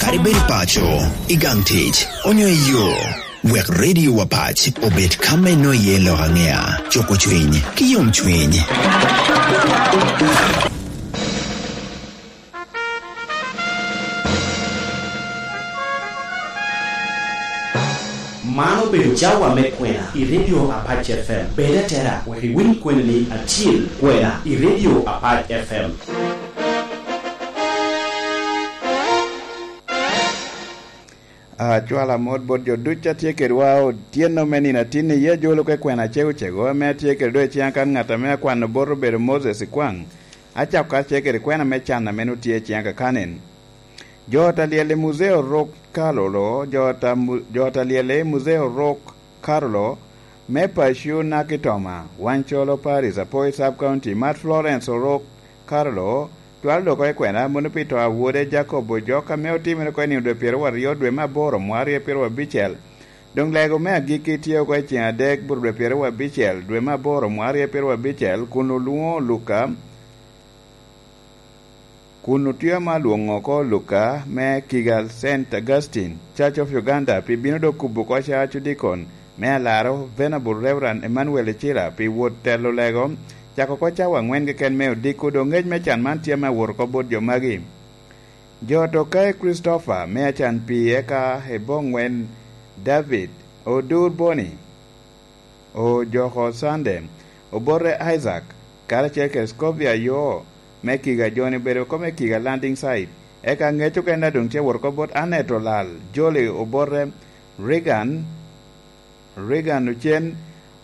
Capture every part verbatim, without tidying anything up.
Ibed i paco, i gang tic, onyo i yo, wek Radio Wapac obed ka me nwoŋo iye lok aŋea, cuko cwiny, ki yomcwiny. Man obedo cawa me kwena i Radio Apac F M. Bed atera wek iwiny kweni-ni acil, kwena i Radio Apac F M. Acwalo amot bot jo ducu a tye kedwa otyeno me nino atin-ni, i ajolo ka kwena acego cego ame atye kede doŋ i ciŋa kan ŋat ame akwano bot obedo Moses Ikwaŋ. Acako karacel kede kwena me can ame nwoŋo tye i ciŋa kakanen. Jo ot a lyel i Muzeo Rok Karolo, jo ot a mu-, jo ot a lyel i Muzeo Rok Karolo, me Paco Naki Toma, Wancolo Parish, Apoi Sub County, Mad Florence Orok Karolo, twal dok oko i kwena, mono pi to a wode Jacob Ojok, ame otimere oko i nino dwe pyeraryo dwe me aboro, mwaka aryo pyerabicel. Doŋ lego me agikki tye oko i ciŋ adek, bur dwe pyerabicel, dwe me aboro, mwaka aryo pyerabicel, kun olwoŋo Luka, kun otye ame alwoŋo oko Luka me Kigal Saint Augustine Church of Uganda pi bino dok kubo oko cawa cudikon me alaro, Venerable Reverend Emmanuel Icira, pi wot telo lego, cako oko cawa aŋwen keken me odiko. Doŋ ŋec me can man tye ame awot oko bot jo magi. Jo ot Okai Christopher me acan pi eka i Boŋwen David, Odur Boni, Ojoko Sande, Obote Isaac, karacel kede Scovia Yoo me Kiga, jo-ni obedo oko me Kiga Landing Site. Eka ŋec okene doŋ tye wot oko bot Annet Olal, Jolly Obote, Reagan, Reagan Ocen,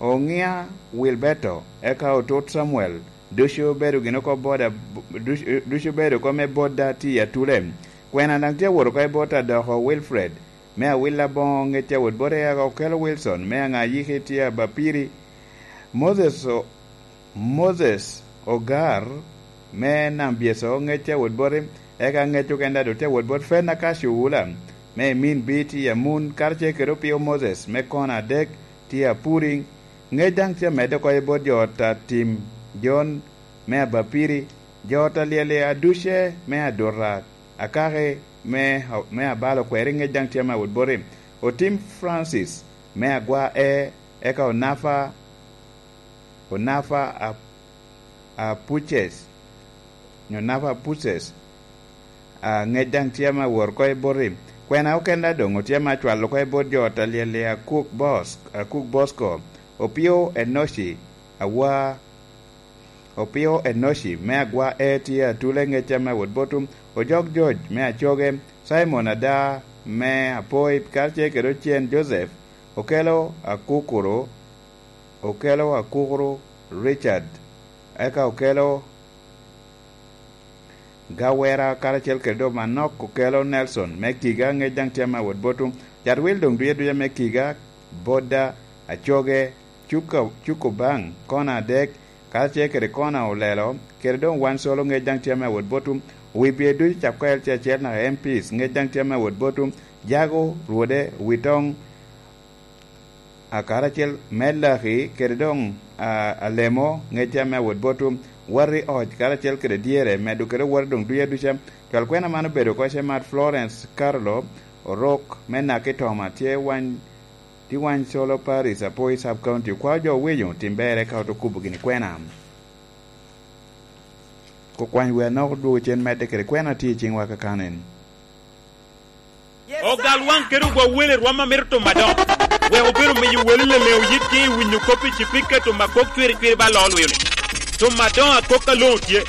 Oŋia Wilberto, eka Otut Samuel, ducu obedo gin oko boda, ducu, ducu obedo oko me boda tye i Atule. Kwena daŋ tye wot oko i bot Adoko Wilfred, me Awila Boŋo, ŋec tye wot bot Eaga Okelo Wilson, me Aŋayiki tye Abapiri, Moses O-, Moses Ogar, me Nam Byeco, ŋec tye wot boti, eka ŋec okene daŋ doŋ tye wot bot Fena Kacu Wula, me Emin Biti Amun, karacel kede Opio Moses, me Kona Adek, tye Apuri. Ŋec daŋ tye amedde oko i bot jo ot a Tim John, me Abapiri, jo ot a Lyeli Aduce, me Aduta, Akaki, me, me Abalo Kweri, ŋec daŋ tye ame wot boti. Otim Francis, me Agwa E, eka Onafa, Onafa a, a Puces, nyo Onafa Puces, a, ŋec daŋ tye ame awot oko i boti. Kwena okene doŋ otye ame acwalo oko i bot jo ot a Lyeli Akuk Bos-, Akuk Bosco, Opio Enoci, Awa, Opio Enoci, me Agwa E tye Atule, ŋec ame awot botu, Ojok George, me Acoge, Simon Ada, me Apoi, karacel kede Ocen Joseph, Okelo Akukuru, Okelo Akukuru Richard, eka Okelo Gawera, karacel kede Omanok, Okelo Nelson me Kiga, ŋec daŋ tye ame awot botu. Cat wil doŋ duc aduca me Kiga, Boda, Acoge, Cuka, Cuko Baŋ, Kona Adek, karacel kede Kona Olelo, kede doŋ Wan Solo, ŋec daŋ tye ame awot botu. Wi bye ducu, cako L C acel naka M Ps, ŋec daŋ tye ame awot botu. Jago, Rwode, Witoŋ, a, karacel me Laki, kede doŋ, a, Alemo, ŋec tye ame awot botu. Wati Oc, karacel kede Dyere, medo kede Wati doŋ ducu aduca. Cwal kwena man obedo oko ce Mad Florence Carlo Orok, me Naki Toma, tye Wany, tye Wany Solo Parish, Apoi Sub County. Okwao jo owinyo, tim ber eka oto kubo gini kwena. Kukwany wer nok odwogo cen medde kede kwena tye i ciŋwa kakanen. Ogal waŋ kede ogwa wele rwom a mito tuma adoŋo, wek obedo miyo wele leleŋo yitgi i winyo kop i cipika tuma kok cwiri cwiri ba loo lwilo. Tuma adoŋo akok aloŋo tye.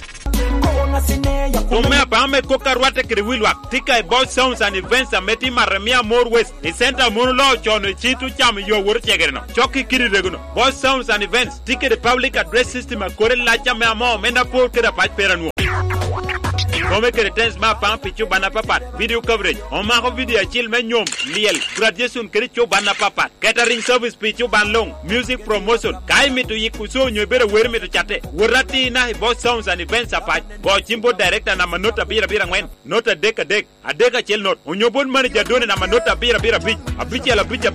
Tuma me apaŋo me kok a rwatte kede wi lwak tye ka i Boss Sounds and Events ame tye i Maremia More West, i center a mono loo con i cit ocamo yo awot ocegere-no. Cok i kidi rego-no, Boss Sounds and Events tye kede public address system a kore lac ame amoo me Napor kede apac pera nwo. Kome kede tens me apaŋ pi cuban apapat, video coverage, omako video acil me nyom, lyel, graduation kede cuban apapat, catering service pi cuban luŋ, music promotion. Ka imito yiko show nyo ibedo awero mito catte, wot atina i Boss Sounds and Events apac. Go cim bot director namba not abiro abiro aŋwen, not adek adek, adek acel not, onyo bot manager done namba not abiro abiro abic, abicel abic abic.